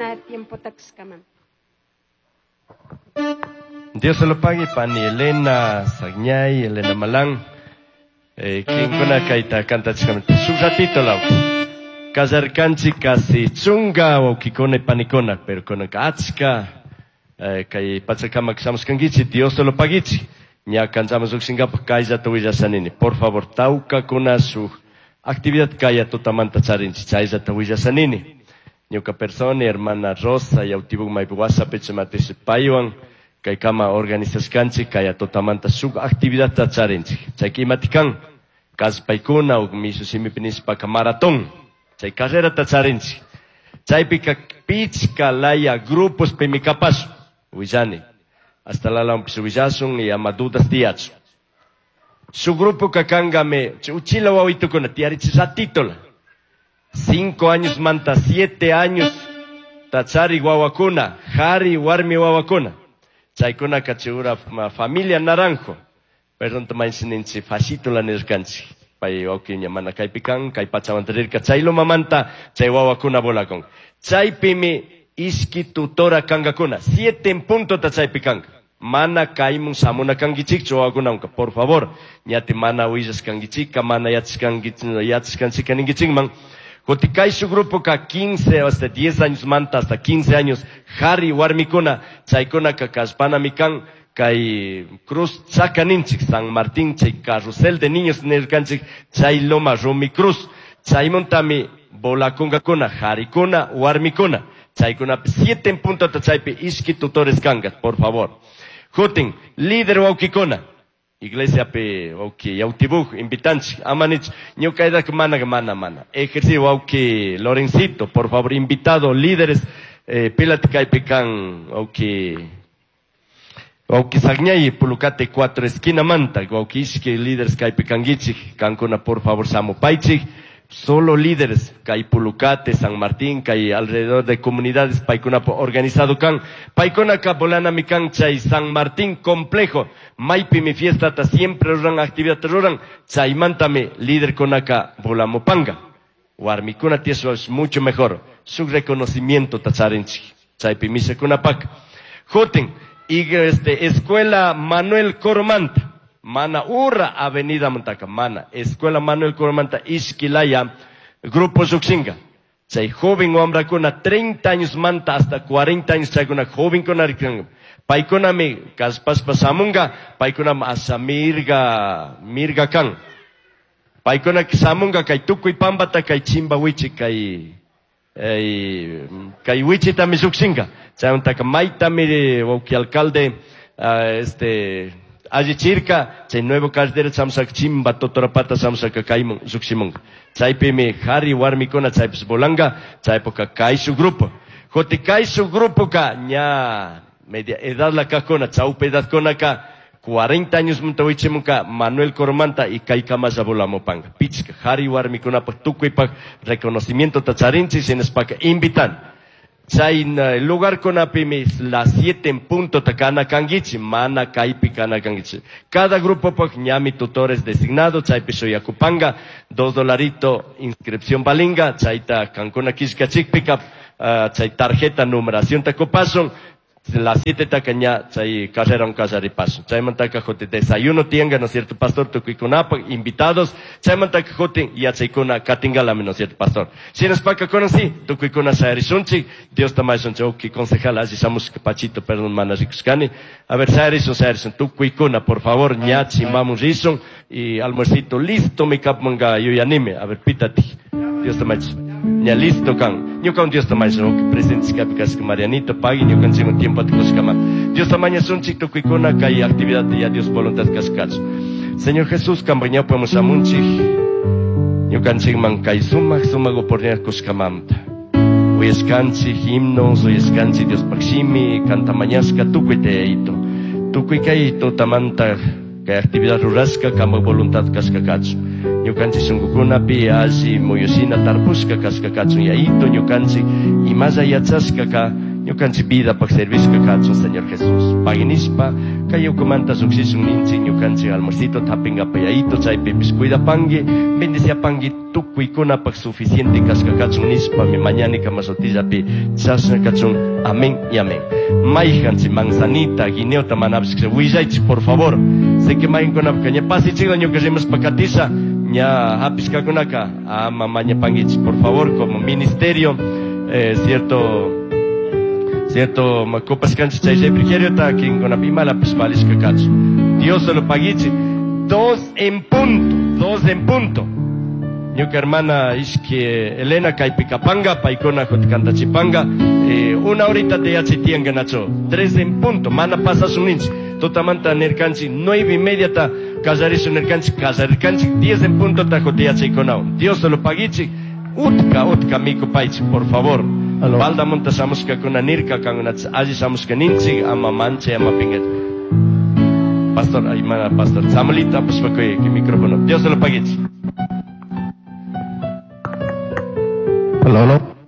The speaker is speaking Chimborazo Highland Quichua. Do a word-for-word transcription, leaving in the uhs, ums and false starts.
Kushkana tiempota kushkaman. Dios se lo pague, pani Elena Sagñay, Elena Malán. Eh, kinkuna kayta kantachkamanta. Shuk ratito lauki. Kallarkanchik casi chunga wawkikuna y panikuna, pero kunanka achka eh, kay pachakamak shamushkankichik, Dios se lo paguichik. Ña kanchaman llukshinkapaj kayllata willashanini. Por favor, tawkakuna shuk actividad kaya tutamanta charinchik, chayllata willashanini. Ñuka persona, hermana Rosa, Yautibuk maypi WhatsApp matish paywan kaykama organizashkanchik kaya tutamanta shuk actividadta charinchik. Chayka imatik kan? Kallpaykuna o mishu shimipi nishpaka maratón. Chay carrerata charinchik. Chaypika pichka laya grupos pimi kapash. Willani. Hasta lalawanpish willashun y ama dudas tiyachun. Su grupo kakangame, uchila wawitukuna, tiyarichik ratitola. Cinco años manta, siete años, tachari wawakuna, jari warmi wawakuna. Chaykuna kachura familia Naranjo. Perdón, tomainsininchi, fashitola nirkanchik. Pay wawkiña mana kaypi kan, kay pachamanta rirka, chay lomamanta, chay wawakuna volakun. Chaypimi ishki tutora kankakuna, siete en punto ta chaypi kanka. Mana kaymun shamuna kankichikchu wawakunanka, por favor. Ñati mana willashkankichika, mana yachashkanchika ninkichikman. Kuti kay shuk grupo ka quince hasta diez años manta hasta quince años, jari warmikuna, chaykunaka kallpanami kan, kay Cruz Chacaninchik, San Martín, chay carrusel de niños nirkanchik, chay Loma Rumi Cruz, chaymuntami volakunkakuna, jarikuna, warmikuna, chaykuna siete en punto ta chaypi ishki tutores kanka, por favor. Jutin, líder wawkikuna, iglesia pe wawki Yautibuj, invitanchik, amanich, ñuka mana mana mana. Ejercicio wawki Lorencito, por favor, invitado, líderes, eh, pilati kaypi kan, wawki, wawki Sagñay, Pulucate cuatro esquina manta, wawki ishki líderes kaypi kankichik, kankuna por favor samupaychik. Solo líderes, kay Pulucate, San Martín, kay alrededor de comunidades, paykuna organizado kan, paykuna ka bolana mi kan, chay San Martín complejo, maypi mi fiesta ta siempre ruran actividad ruran, chaymantami líder kunaka volamupanga. Warmikuna tieso es mucho mejor, su reconocimiento ta charinchik, chaypi mishakunapak. Jutin, y este, escuela Manuel Coromanta, Mana Urra Avenida Montaka, Mana, Escuela Manuel Coromanta, Ishquilaya, Grupo Yuxinga. Chay joven wamrakuna, treinta años manta hasta cuarenta años chaykuna, joven kuna rikanka. Paykunami kallpashpa shamunga, paykunami asha mirga, mirga kan. Paykuna shamunga kay tukuy pampata kay chimba wichi kay, eh, kay wichitami llukshinga. Chaymantaka maytami wawki alcalde, uh, este, allichirka, chay nuevo carretera chamsak chimba totorapata chamsaka kaymun llukshimunga. Chaypimi jari warmikuna chaypis volanga, chaypoka kay su grupo. Joti kay su grupo ka ña media edad la kajkuna, chawpi edad kunaka, cuarenta años muntawichimunka Manuel Coromanta y kay kamalla volamupanga. Pichka jari warmikunapaj tukuypaj reconocimiento tacharinchik, shinaspaka invitan. Chay lugar kunapimi las siete en punto takana kangichi, mana kaypi kana kangichi. Cada grupo paj ñami tutores designado, chaypi shuyakupanga, dos dolarito inscripción balinga, chayta kankuna kishkachikpika, uh, chay tarjeta numeración takupasun, las siete taka ña, chay carrera un kallaripasun. Chaymantaka jote desayuno tianga, ¿no es cierto, pastor? Tukuykunapaj, invitados. Chaymantaka jote yachaykuna katingalami, ¿no es cierto, pastor? Shinaspaka conocí, tukuykuna shayarishunchik, Dios tamayshunchik, oki concejal, alli shamushka Pachito, perdón, mana rikushkani. A ver, shayarishun, shayarishun, tukuykuna, por favor, ña chimbamun rishun, y almuercito listo, mi kapmanga yuyanime. A ver, pitati. Dios tamayshun. Ña listo kan. Ñuka un Dios tamaño, oki presente kapi kaska Marianito, pagui, ñuka nchimo tiempo atukushkama. Dios tamaño sunchik tukuykuna kay actividad ya Dios voluntad kaskachu. Señor Jesús, kambaña podemos amunchik. Ñuka nchikman kay sumaq, sumaq oportunidad kushkamamta. Uyashkanchik himnos, uyashkanchik Dios pakshimi, kanta mañashka tukuy teito. Tukuy kay tutamanta kay actividad rurashka kama voluntad kaska kachu. Ñukanchik shunkukunapi alli muyushina tarpushka kashka kachun yaito ñukanchik imalla yachashka ka ñukanchik vida pak servishka kachun Señor Jesús. Paginishpa Kay ukumanta lluqshishun ninchik ñukanchik almuercito hapinkapak chaypipis cuidapanki, bendiciapanki tukuykunapaq suficiente kashka kachun nishpami mañani kamasutillapi chashna kachun. Amén y amén. Mayhanchik manzanita, guineota manapis willaychik por favor. Sé que mayhankunapaka ña pasichikla ñuka rimashpa katisha ña hapishkakunaka ama mañapankichik por favor como ministerio, eh, cierto cierto kupashkanchik chay refrigeriota kinkunapi imalapish valishka kachun. Dios se lo paguichik. Dos en punto, dos en punto. Ñuka hermana ishki Elena kaypi kapanga, paykuna kantachipanga, eh, una horita te yachay nacho, tres en punto, mana pasashun ninchik. Tutamanta nirkanchik, nueve y media ta kallarishun nirkanchik, kallarirkanchik, diez en punto ta yachaykunawan. Dios se lo paguichik, utka, utka mikupaychik, por favor. Baldamunta shamushkakuna nirka, kankuna alli shamushka ninchik, ama manchay, ama pinga. Pastor, ay mana pastor, Samuelito, apashpa kuy micrófono. Dios se lo paguichik. Aló, aló.